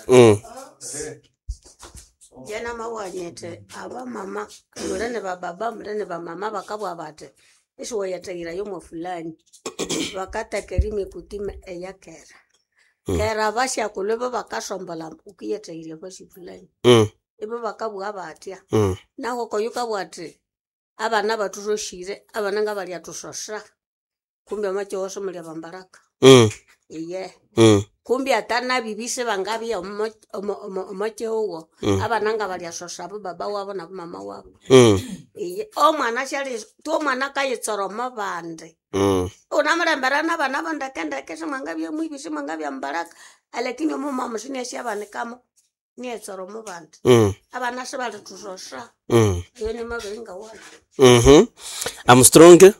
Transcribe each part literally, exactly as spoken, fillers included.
Mm. Jena mawanyete abamama muli ni bababa muli ni bamama bakabugha bathi isiwayathahira yomo fulani bakatheka emikutima eyakera kera abasyakulhu ibo bakasombolha wukiyathahirya fasi fulani Mm. ibo bakabugha bathya Mm. nahu okoyu kabugha athi abana bathusosyire abana ngabalyathusosya kumbi omwakihugho simuli abambaraka Mm. iye Mm. kumbi atanabibi sibangabya omo- omo- omo- omwakihugho Mm. abana ngabalyasosya abo baba wabo nabo mama wabo Mm. iye omwana syali tu omwana akayitsora omo bandi Mm. unamulembera nabana bo ndekendeke simwangabya mwibi simwangabya mbaraka alakini omumama sinesyabanikamo niyetsora omo bandi Mm. abana sibalithusosya Mm. eyo nimabiri ngawana Mhm. Armstrong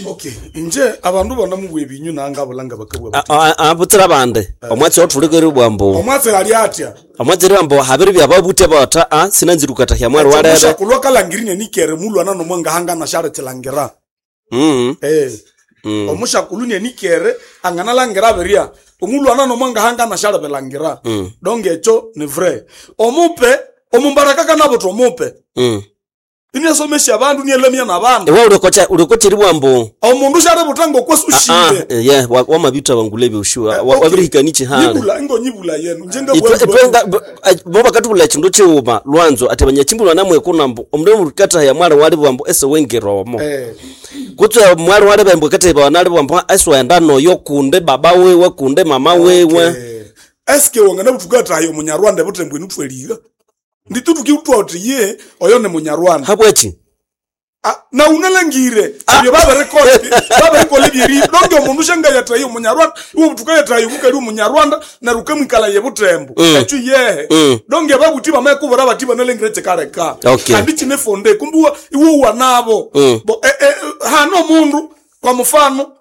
Okay, inje abandu banamubwa ebinyu nangabulanga bakabwa bati. abutsira bande omwatsi wathulikere bwambo Omwatsi ali atya? omwatsi bwambo habiri byababuthe bata a sinanzirukatahya mwari walebe Omushakulhu akalangirine nikere mulwana nomwangahangana syalikilangira. Mm. Eh. Mm. Omushakulhu nienikere anganalangira birya. Omulwana nomwangahangana syalibilangira. Mm. Donc ekyo ni vrai. Omupe omumbaraka kanabutha omupe. Mm. Iniasomesya abandu nielemya nabandu. Ewa ulikocha ulikocheri bwambo Omundu syalibutha Ah, ngokwesushire. ye wamabitha bangulebe ushuwa Eh, okay. wabirihikanichi hali Nyibula ingonyibula yenu. Nje itwenga bo bakatubula chindu chiwuma lwanzo ati abanyachimbulwa namwe kunambo omundu murikatahya mwali wali bwambo ese wengeromo Eh. kutse mwali wali bambo katahya wanali bwambo ese wenda noyo kunde baba wewe kunde mama wewe Eh, eske wangana butukatayo omunyarwanda butembo inutweliga nditutukiutwa uti ye oyo ni munyarwanda habwechi Ah, na unalangire ebyo babirikola babirikola ebyeri donge omundu shangayatayo omunyarwanda iwe butukayatayo mukali omunyarwanda neryo ukamwikala ye butembo Mm. ekyo yehe Mm. donge babuti bamayekubura bati banalengire kikaleka Okay. kandi kine fonde kumbi iwe iwe nabo Mm. bo eh, eh, hano omundu kwa mfano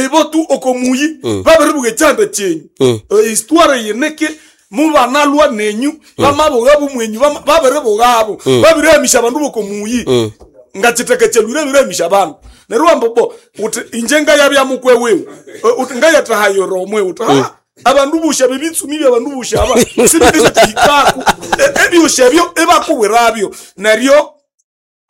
ibo tu okomuyi babiribuga ekyanda kyenyu Mm. Eh, histoire yineke mubanalwa nenyu bamabugabu mwenyu bama- babiribugabo babirihamisha abandu bokomuyi Mm. ngachitekechelwire birehamisha abandu neryo wamba bo uthi inje ngayabya mukwe wiwe Eh, uthi ngayatahayora omwe uthi ha abandu busha bebitsumi byabandu busha aba sibikisitihikaku ebyusha ebyo ebakubwirabyo neryo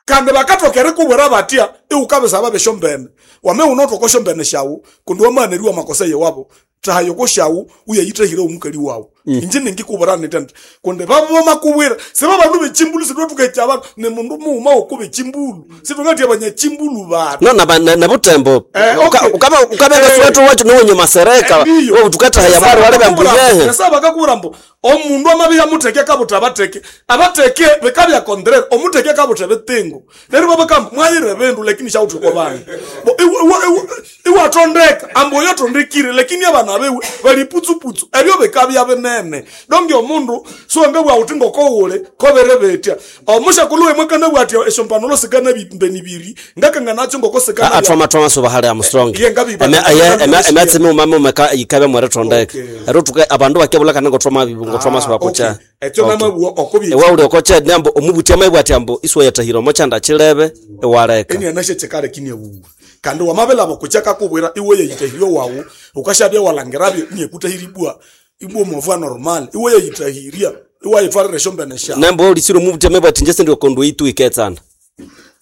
kandi bakathoka erikubwira batya iwukabisaba besyombene wame wunothoka osyombene syawu kundi wamaneriwa amakosa yewabo thahayoko syawu uyayithahire omukali wawu inje ningikubwira nitya nti kundi babomakubwira siba bandu bechimbulu sitwathukaikya abandu ni mundu mughuma woko bechimbulu sithungathya abanyachimbulu batu no na na, na butembo Eh, okay. ukaba ukabenga Eh. swetu wacho nowenye masereka Ndiyo. utukatahya mwali wali bambo yehe Nasa bakakubwira mbu omundu amabya mutheke akabutha abatheke abatheke bikabya contraire omutheke akabutha ebitengo neryo babakamba mwayira ebindu lakini syawuthekwa bana Bo, iwe- iwe- iwe- iwathondeka ambu oyo athondekire lakini abana biwe bali putsuputsu ebyo bikabya binene donge omundu siwangabugha wuthi ngokowuli kobere betya omushakulhu wemwe kanabugha athi esyompanolo sikanabimbeni biri ngakanganakyo ngoko sikana athwama thwama soba hali Armstrong Iye, ngabi- Eme- aye, eme- ematsime umame umeka yikabe mwere thondeka Okay. ero tuke abandu bakebulakana ngothwama ngothwama soba kucha ekyo namabugha okobye ewa uli okocha nambo omubuthi amaibwa ati ambo isiwe yatahira omochanda chilebe ewaleka enianashe chikale kiniewuwa kandi wamabelabo kucha kakubwira iwe yeyitahirye wawu ukashabya walangirabyo niekutahiribwa ibwa movua normal iwe yeyitahirya iwayitwarira esyombene syawu nambo ulisire omubuthi amaibwa ati nje sindiokondu itu iketsana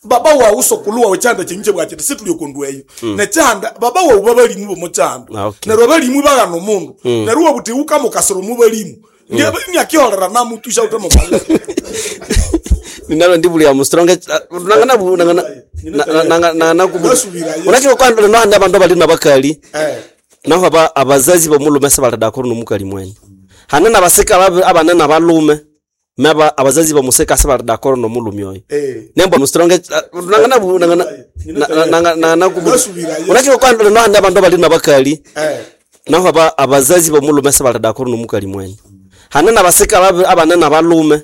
baba wawu sokulu wawu chanda chenyu chebwachiti situliokondu eyo nechanda baba wawu babalimu bomochanda Ah, okay. neryo abalimu baghana omundu neryo wabuthi ukamukasira omubalimu niakiholera namutusha utemubale ninalo ndibuli Armstrong nangana nangana nangana Nasubira, yes. unachiko kwa ndo handi abandu abali nabakali eh naho aba abazazi bomulume sebalidakuru nomukali mwenye hane nabasika ababi- abane nabalume meba abazazi bomusika sebalidakuru nomulume oyo eh nembo Armstrong nangana nangana nangana Nasubira, yes. unachiko kwa ndo handi abandu abali nabakali eh naho aba abazazi bomulume sebalidakuru nomukali mwenye hane nabasika ababi- abane nabalume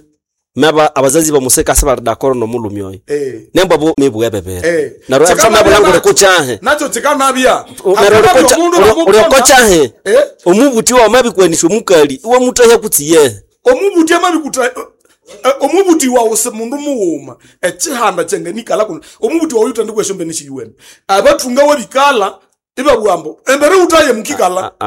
meba abazazi bomusika sebalidakuru nomulume oyo eh nembo bo mibwe bebere Eh. naro Chikanabya atamabulangure nacho. kuchahe nacho chikanabya neryo Akanabya omundu bamupona. uliokochahe Eh? omubuthi wamabikwanisha omukali iwamutahya kutsi yehe omubuti amabikuta eh, eh, omubuti wawu si mundu mughuma ekihanda kyengenikala kuno omubuti wawu yutandikwa esyombene shiyuwene abathunga webikala ibabugha ambu embere wuthaye mukikala Ah, ah.